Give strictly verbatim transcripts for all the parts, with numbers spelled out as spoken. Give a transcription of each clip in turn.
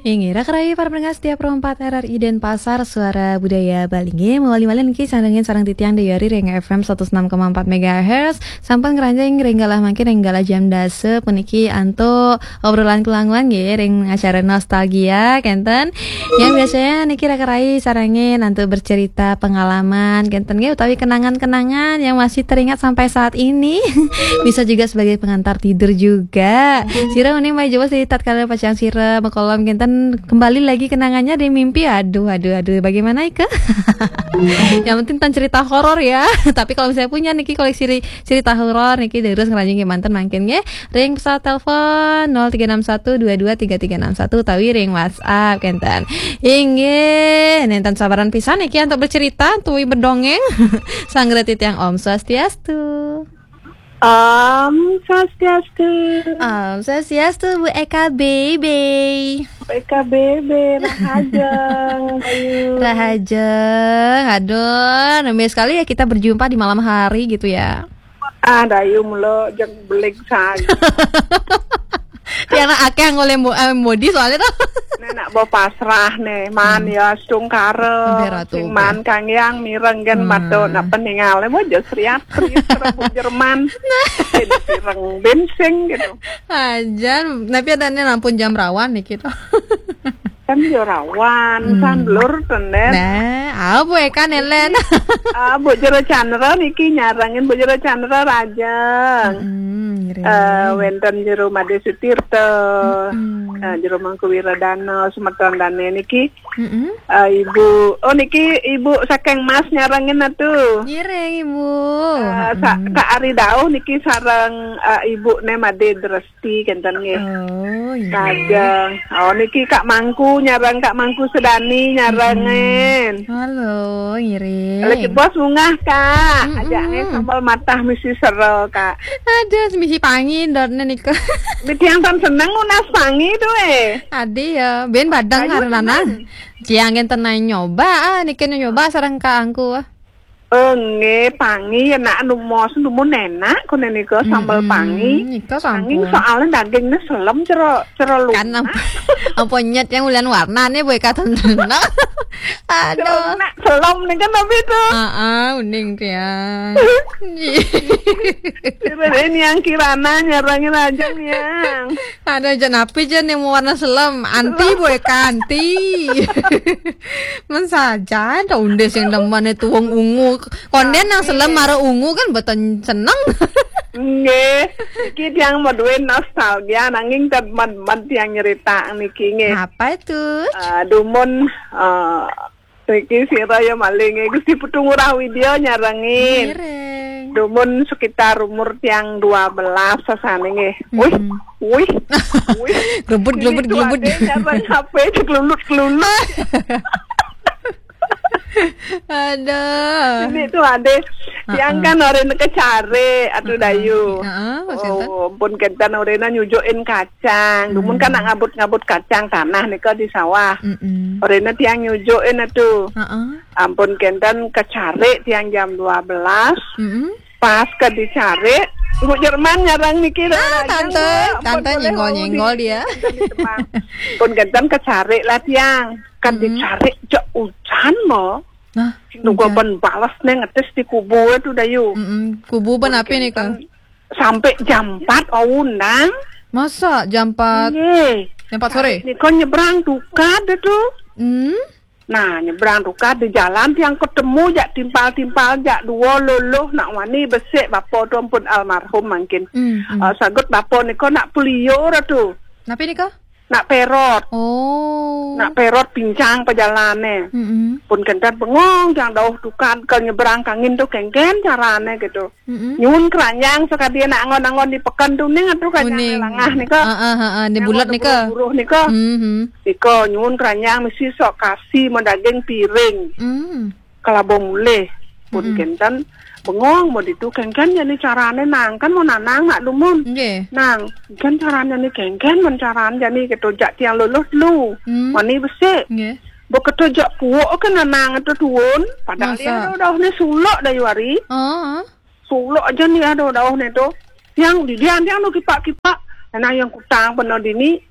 Inggih, raka rayi para pendengar setia Pro empat R R I Denpasar, Suara Budaya Bali. Inggih, mawali malih niki sareng, sareng titiang Dayari ring F M satus enam koma empat megahertz. Sampun ngranjing ring galah mangkin ring galah jam dasa puniki antuk obrolan kula-kula nggih ring acara Nostalgia kenten. Yang biasanya niki raka rayi sarengin antuk bercerita pengalaman kenten nggih utawi kenangan-kenangan yang masih teringat sampai saat ini. Bisa juga sebagai pengantar tidur juga. Sira uning malih jebos di tatkala pacang sira makolom kenten kembali lagi kenangannya di mimpi. Aduh, aduh, aduh, bagaimana ika? Yang penting tan cerita horor ya. Tapi kalau misalnya punya niki koleksi ri- cerita horor niki terus ngranjing kemanten mangkin nggih. Ring pesawat telepon nol tiga enam satu dua dua tiga tiga enam satu utawi ring WhatsApp kenten. Inggih, nenten sabaran pisan niki antuk bercerita, tuwi bedongeng. Sanggra titiang Om Swastiastu. Om Swastiastu. Om Swastiastu, Bu Eka Bebe. Eka Bebe, rahajeng, Bayu. Rahajeng, aduh, namanya sekali ya kita berjumpa di malam hari gitu ya. Ah, Dayu mula jeng beling saja. Tiang nak akeh ngoleh mo- eh, modi soalnya tuh. Nek nak bo pasrah nih, man ya stungkara. Sing man kang yang mireng gen mato nak peningal. Mo jo sriat, sriat, serebu Jerman. Bin pireng, bin sing gitu. Ajan, tapi ada nih lampun jam rawan nih gitu. Kan yo rawan, hmm, sanlur tenden. Nah, apa ya kan, Elen? Ah, Bu Jero Chandra niki nyarengin, Bu Jero Chandra Rajeng. Mm-mm, ngiring. Eh, wenten Jero Made Sutirta. Mm-mm. Eh, Jero Mangku Wiradana, semeton dane niki. Mm-mm. Eh, Ibu, oh niki Ibu saking Mas nyarengin atuh. Ngiring, Ibu. Eh, sa- Kak Ari Dauh niki sareng, eh, Ibu ne Made Dres. Gusti kenten nggih. Oh, iya. Kajeng. Oh, niki Kak Mangku nyarang, Kak Mangku Sedani nyarangin. Halo, ngiring. Lagi bos munggah, Kak. Mm-mm. Ajaknya sambal matah misi sero, Kak. Aduh, misi pangi dotne nika. Mitiang tan seneng unas pangi tuh eh. Adi ya, ben badang. Ayo, karo lanang. Seneng. Ciang kenten nyoba, ah, niki nyoba sareng Kak Angku. Ah. Oh, nggih, pangi ya nak numos numun enak kone nika sambal pangi. Nika sampun. Nanging soalnya dagingnya selem cero cero lunak. Kan apa, apa nyet yang ulian warnane boy katon. Aduh. Nak selem nih kan tapi itu. Heeh, uning tiang. Kira ini yang Kirana nyarangin aja nih yang. Ada aja napi aja nih mau warna selem, anti boy kanti. Men saja ada undes yang demen itu wong ungu. Konden nang selem mara ungu kan beton seneng. Nggih, iki tiang maduwe nostalgia nanging temen-temen tiang nyerita niki nggih. Apa itu? Eh, dumun eh, Riki sira ya maling Gusti Putu Ngurah Widya nyarengin. Ngiring. Dumun sekitar umur tiang dua belas sasane nggih. Wih, wih, wih. Glubut, glubut, glubut. Nyareng H P cek lulut-kelulut. Aduh. Ini tuh ade tiang kan orena kecare atuh Dayu. Heeh, maksudnya? Oh, pun kenten orena nyujukin kacang. Dumun kan nak ngabut-ngabut kacang tanah nika di sawah. Mm-mm. Orena tiang nyujukin atuh. Heeh. Ampun kenten kecare tiang jam dua belas. Mm-mm. Pas ke dicare, Bu Jerman nyarang niki. Ah, tante, tante nyenggol-nyenggol dia. Pun kenten kecare lah tiang. Kan dicare jak ujan mo. Nah, nunggu ben balas neng ngetes di kubu itu Dayu. Mm-mm. Kubu ben api nih kan? Sampai jam empat undang. Masa jam empat? Nggih. Jam empat sore? Nika nyebrang tukad itu. Hmm? Nah, nyebrang tukad di jalan tiang ketemu jak timpal-timpal jak dua luluh nak wani besik bapa tu ampun almarhum mangkin. Hmm, hmm. Eh, sagut bapa nika nak peliur tu. Napi nika? Nak perot. Oh. Nak perot pincang pajalane. Mm-mm. Pun kenten bengong, tiang dauh tukad ke nyebrang kangin tu kengken carane gitu. Mm-mm. Nyuwun keranjang sakadi nak angon-angon di peken tu ning atuh keranjang langah nika. Heeh, heeh, di bulat nika. Buruh nika. Mhm. Nika nyuwun keranjang mesti sok kasi medaging piring. Mm. Kelaba mulih. Pun kenten bengong mau ditu kengken jani carane nang kan mau nanang nak dumun. Nggih. Nang, kengken carane ni kengken men carane jani ketojak tiang luluh telu. Hmm. Mani besik. Nggih. Beketojak puuk ke nanang itu tuun. Padahal dia ada udah ni suluk dari wari. Oh. Suluk aja ni ada udah ni tu. Yang di dia tiang tu kipak-kipak. Nah yang kutang benar dini.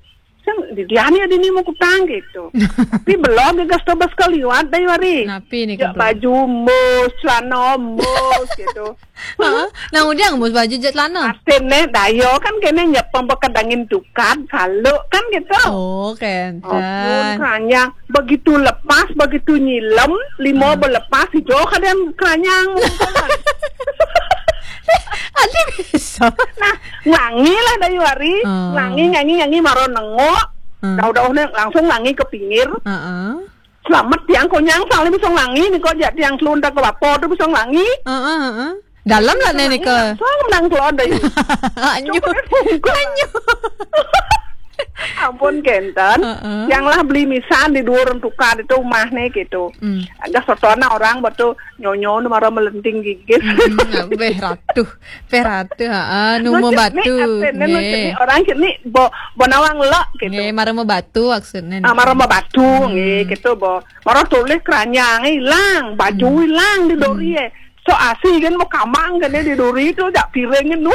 Sang, di dia ni ada ni mau kutang gitu. Tapi belum dia gas tobas kaliwat dah wari. Napi ni? Ya, baju mus, celana mus gitu. Ha? Nang udiang mus baju jat celana. Asin ne, dayo kan kene nyepeng bekedangin tukad, kalau kan gitu. Oh, kenten. Ampun, keranyang. Begitu lepas, begitu nyilem, limo belepas, ijo kadang keranyang. Ada bisa. Nah, ngangi lah dayu hari. Ngangi, ngangi, ngangi, maro nengok. Dauh-dauh ne langsung ngangi ke pinggir. Selamat tiang konyang, sang le bisa ngangi ni kok, jak tiang telun tak ke bapa tu bisa ngangi. Dalam lah ne nika. Sang menang telun dayu. Anyu. Anyu. Ampun kenten. Yang lah beli misan di dua orang tukar itu rumah ni gitu. Agak sotona orang betul nyonyo ni mara melenting gigis. Beh ratu. Beh ratu, ha. Nu mau batu. Orang kini bo, bo nawang lek gitu. Nggih, mara mau batu maksudnya. Ah, mara mau batu, nggih, gitu bo. Mara tulis keranyang hilang, baju hilang di dori eh. So asi kan mau kamang kan di dori tu jak piring nu.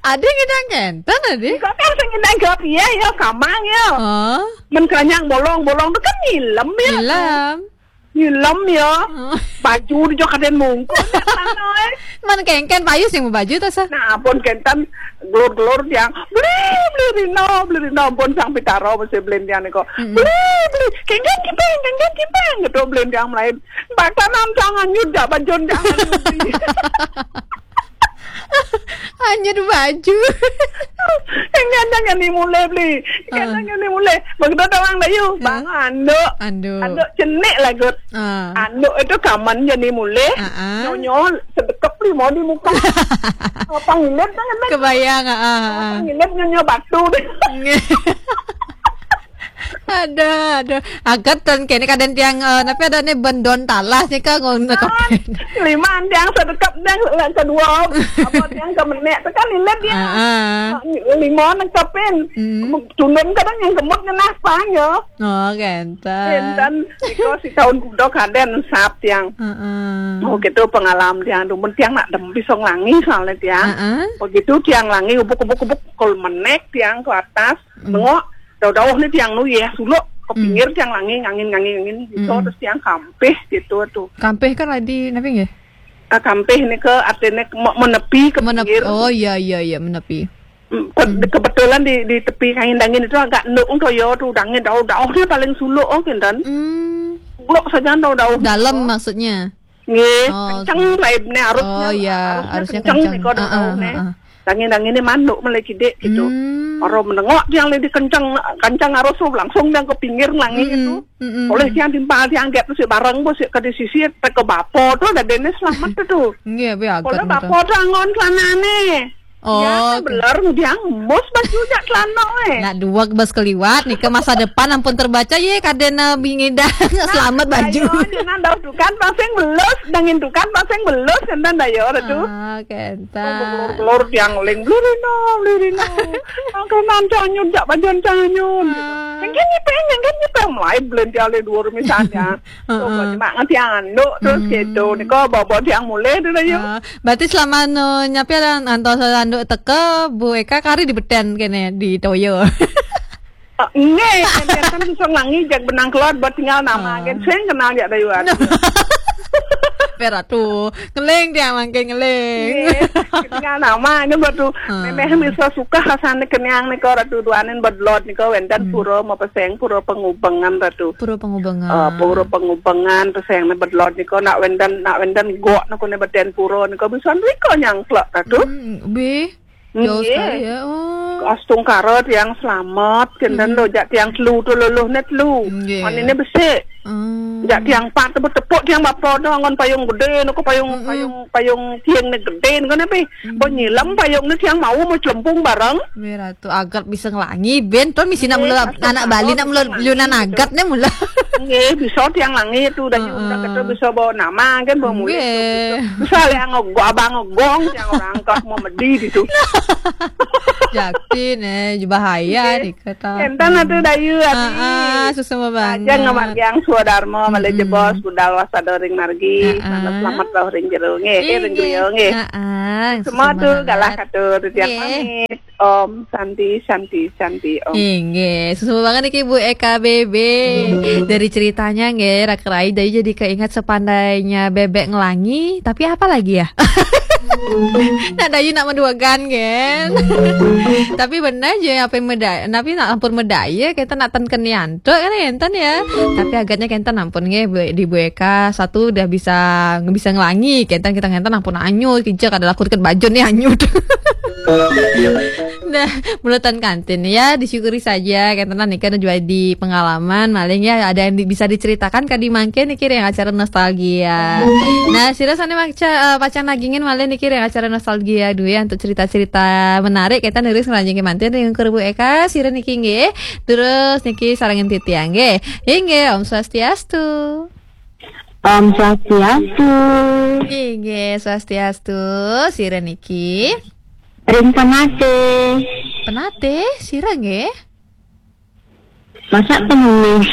Ada ngidang kenten, ada? Kok kan sing ngidang gap, iya, iya, kamang ya. Oh. Men keranyang bolong-bolong tu kan nyilem ya. Nyilem. Nyilem ya. Baju di jok kaden mungkul ya, tanah, eh. Man kengken payu sing mau baju tu, sah? Nah, pun kenten gelur-gelur tiang. Beli, beli rino, beli rino. Pun sang pitaro mesti beli tiang ni kok. Beli, beli. Kengken kipeng, kengken kipeng. Gitu beli tiang melain. Bakanan jangan nyudak, bajun jangan nyudak. Hanya dua baju. Yang gandang yang dimulai beli. Yang gandang yang dimulai. Begitu orang dayu. Bang anduk. Anduk. Anduk cenik lagut. Anduk itu kaman jadi mulai. Nyonyo sedekep lima di muka. Apa ngilet kan? Kebayang, ah. Apa ngilet nyonyo batu deh. Ada, ada. Agat dan kene kadang tiang, eh, tapi ada ni bendon talas ni kan ngono. Lima tiang sedekep tiang kedua. Apa tiang ke menek tu kan ilet dia. Lima nengkepin. Tundun kadang yang gemuk ngenah pang ya. Oh, kenten. Kenten. Iko si tahun kuda kaden sap tiang. Oh, gitu pengalaman tiang. Dumun tiang nak dem pisong langi soalnya tiang. Begitu tiang langi ubuk-ubuk-ubuk kol menek tiang ke atas. Nengok dauh-dauh ni tiang nu ya suluk ke pinggir tiang langi ngangin ngangin ngangin gitu terus tiang kampih gitu tu. Kampih kan lagi napi nggih? Ah, kampih ni ke artinya ke, me- menepi ke Menep- pinggir. Oh iya iya iya menepi. Mm, ke- Kebetulan di di tepi angin dangin itu agak nduk tu ya tu dangin dauh-dauh ni paling suluk oh kintan. Suluk saja dauh-dauh. Dalam maksudnya. Nggih, oh, kenceng laibne arusnya. Oh iya, arusnya kenceng, kenceng. Niko dauh-dauh ne. Dangin-dangin ni manduk mulai kidik gitu. Orang menengok tiang lagi kenceng kenceng arus tu langsung tiang ke pinggir langi gitu. Oleh tiang timpal tiang gap tu si bareng bos si ke di sisi tak ke bapa tu ada dene selamat tu. Nggih, be agak. Oleh bapa tu angon celanane. Oh, ya, belar ngudiang mus baju jak celana eh. Nak dua bas keliwat nika masa depan ampun terbaca ye kadena bingidang selamat baju. Ayo, jangan dauh tukan pasing belus, dangin tukan pasing belus kenten dayo tu. Ah, kenten. Belur-belur tiang ling belurino, belurino. Angkenan canyun jak bajon canyun. Mungkin ni peng, mungkin ni peng mulai belanja le dua misalnya. Oh, mak ngerti anduk terus gitu. Niko bawa tiang mulai tu dayo. Berarti selama no nyapi ada antos anduk teka Bu Eka kari di beten kene di toyo. Nggih, kan bisa langi jak benang keluar buat tinggal nama kan. Sing kenal jak dayuan. Peratu, ngeling dia mangke ngeling. Tinggal nama ini buat tu. Memeh bisa suka rasane kenyang ni kau ratu duanin bedlot ni kau wendan pura mau peseng pura pengubengan ratu. Pura pengubengan. Ah, pura pengubengan peseng ni bedlot ni kau nak wendan nak wendan gok nak kau ni beten pura ni kau bisa ni kau nyangklak ratu. Hmm, be. Jauh sekali ya. Oh. Astungkara tiang selamat, kenten lo jak tiang telu tu luluh ne telu. Nggih. Manine besik. Jak tiang empat tu betepuk tiang bapa tu angon payung gede, nuku payung payung payung tiang ne gede kan tapi. Bo nyilem payung ne tiang mau mau celempung bareng. Merah tu agat bisa ngelangi ben tu misi nak mula anak Bali nak mula lunan agat ne mula. Nggih, bisa tiang langi tu dah juga kata bisa bawa nama kan bawa mulai. Bisa le ngogong abang ngogong tiang orang kah mau medi di tu. Jakti ne, bahaya nih kata. Enten atuh Dayu, Adi. Ah, ah, susah banget. Aja ngamargiang swadarma, malih jebos budal wasada ring margi. Ah, ah. Selamat ring jero nggih, eh, ring griya nggih. Ah, ah, semua tuh galah katur titiang pamit. Om Santi, Santi, Santi, Om. Inggih, susu banget niki Bu Eka B B. Dari ceritanya nggih, Raka Rai Dayu jadi keingat sepandainya bebek ngelangi, tapi apa lagi ya? Nak Dayu nak menduakan kan? Tapi benar aja apa yang medaya, tapi nak ampun medaya kita nak ten kenian. Tuh kan enten ya. Tapi agaknya kita ampun nggih Bu- di Bu Eka satu udah bisa bisa ngelangi, kita kita ngenten ampun anyu, kija kada laku deket baju nih anyu. Nah, menurut kantin ya disyukuri saja kita nika juga di pengalaman maling ya ada yang di- bisa diceritakan kadi mangke niki ring acara nostalgia. Nah, sira sane maca eh, pacang nagingin malih niki ring acara nostalgia dua ya untuk cerita-cerita menarik kita nulis ngelanjeng mantin ring Kuru Bu Eka sira niki nggih. Terus niki sarengin titiang nggih. Inggih, Om Swastiastu. Om Swastiastu. Inggih, Swastiastu. Sira niki. Ring Penate. Penate, sira nggih. Masak penulis.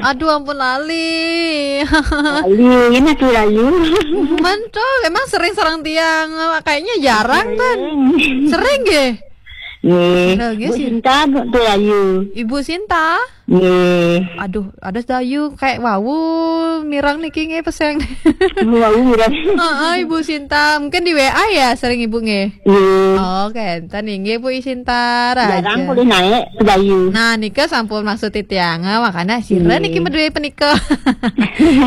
Aduh ampun lali. Lali, ini tuh Rayu. Mantul, emang sering sareng tiang. Kayaknya jarang kan. Sering nggih. Nggih. Sira nggih Bu sih. Sinta tuh Rayu. Ibu Sinta. Nggih. Aduh, ada Dayu kayak wau mirang niki nggih peseng. Wau mirang. Heeh, Ibu Sinta. Mungkin di W A ya sering Ibu nggih. Nggih. Oke, enten nggih Bu Sinta. Jarang Raja. Boleh naik ke Dayu. Nah, nika sampun maksud titiang, makanya sira niki meduwe penika.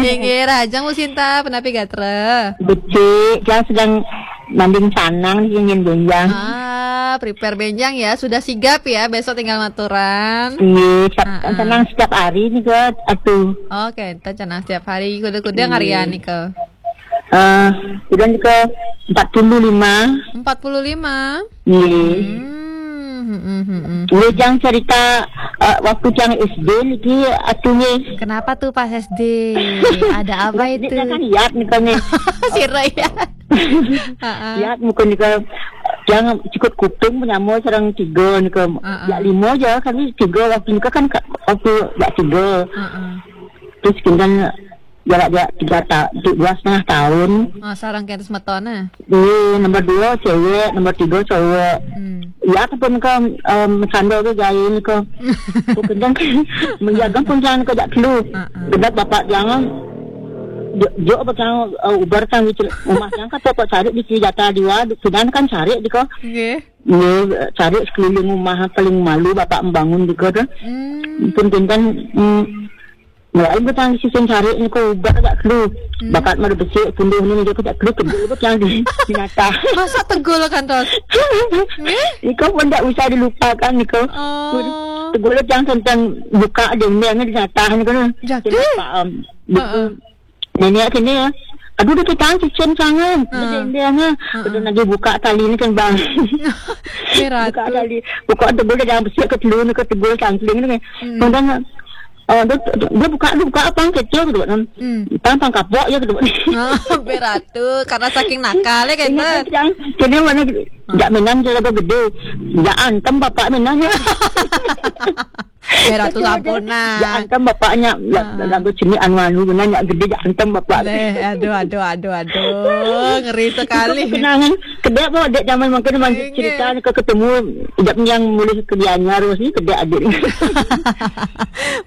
Inggih, Rajang Bu Sinta, penapi gatra. Becik, dia sedang manding sanang niki nyen benjang. Ah, prepare benjang ya, sudah sigap ya, besok tinggal maturan. Iya, setiap, Ah, ah. Senang setiap hari nih ke atuh. Oke, enten cenang setiap hari kuda-kuda Iya. Ngarian nih ke. Eh, udah nih ke empat puluh lima. Empat puluh lima. Iya. Hmm, hmm, hmm, hmm. Iya, jangan cerita eh, waktu yang S D niki atuh nggih. Kenapa tuh pas S D? Ada apa itu? Dia kan lihat nih kan nih. Sira ya. Heeh. Lihat muka nih kan yang cukup kuping menyamua sareng tiga nih kan. Heeh. Ya lima aja kan tiga waktu nikah kan ka- waktu ya tiga. Heeh. Terus kemudian jarak-jarak tiga ta- dua setengah tahun. Oh, sareng kaya semeton eh. Iya, nomor dua cewek, nomor tiga cowok. Hmm. Ya ataupun kan um, sandal ke gaya ni ke. Bukan menjaga pun jangan ke jak telu. Ah, ah. Sebab bapak jangan jo apa jangan uh, ubar kan gitu. Rumah jangan kata kok cari di jatah dua, sudah kan cari di kok. Nggih. Iya, cari sekeliling rumah paling malu bapak membangun di kota. Hmm. Pun kan hmm, Mulai betang sising cari ni ko ubat agak kelu. Hmm. Bakat mada besik punduh ni dia kata kelu tegul betang di binatang. Masa tegul kan tos? Nggih? Iko pun tak usah dilupakan iko. Oh. Tegul betang tentang buka dinding ni binatang ni kena. Jatuh? Kena faham. Heeh. Nenek kena ya. Aduh dia petang cicin sangat. Heeh. Dia dinding ni. Heeh. Betul lagi buka tali ni kan bang. Berat. Buka tali. Buka tegul dia jangan besik ke telu ni ke tegul cangkling ni. Hmm. Kemudian Oh, dia, dia buka dia buka apa kecil gitu kan. Hmm. Tang tang kapok ya gitu. Ah, beratu karena saking nakal ya kan. Ingat kan, kini mana jaminan dia lagu gede. Ya antem bapak menang ya. Beratu sampurna. Ya antem bapaknya ya, ah. Lagu sini anu anu menang ya gede ya antem bapak. Leh, aduh aduh aduh aduh. Ngeri sekali. Kenangan kedek bawa dek zaman mungkin masih cerita ke ketemu tidak yang mulai ke Gianyar sih kedek adik.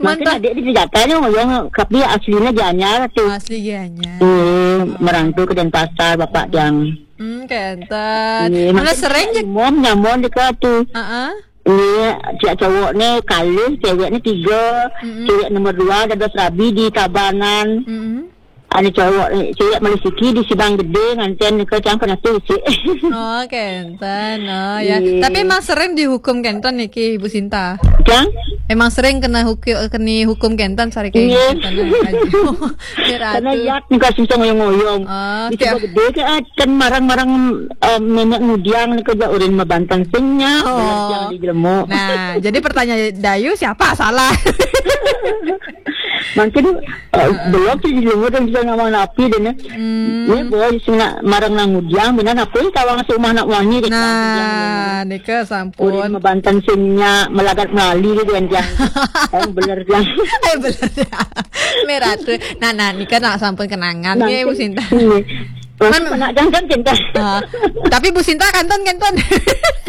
Mungkin adik di Jakarta ni orang tapi aslinya Gianyar tu. Asli Gianyar. Eh, merantau ke Denpasar bapak yang. Hmm, kenten. Mana sering je. Mom nyamon dekat tu. Heeh. Ni cik cowok ni kalih, cewek ni tiga, mm-hmm. Cewek nombor dua ada serabi di Tabanan. Mm-hmm. Ada cowok ni, cewek Malaysia di Sidang Gede nganten ke cang pernah tu cik. Oh, kenten. Oh, ya. Yeah. Tapi emang sering dihukum kenten niki Ibu Sinta. Cang? Emang sering kena hukum kena hukum kenten sari ke. Yeah. Karena yak ni kasih ngoyong-ngoyong. Oh, di tiap gede ke kan marang-marang um, nenek ngudiang ni kerja urin mabantang singnya oh. Yang di jelemu. Nah, jadi pertanyaan Dayu siapa salah? Mangkin, eh, belum sih di luar dan bisa ngomong napi deh, nih. Hmm. Ini boy sing nak marang nang udiang, benar apa ini kawang si umah nak wangi deh. Nah, nika Udah sampun. Mabantan singnya melagat melali deh, dan yang yang bener yang. Ayo bener ya. Merah tuh. Nah, nah, nika nak sampun kenangan ya, Bu Sinta. Iya. Masih Kan- nak jangan cinta. Ah, tapi Bu Sinta kantun kantun.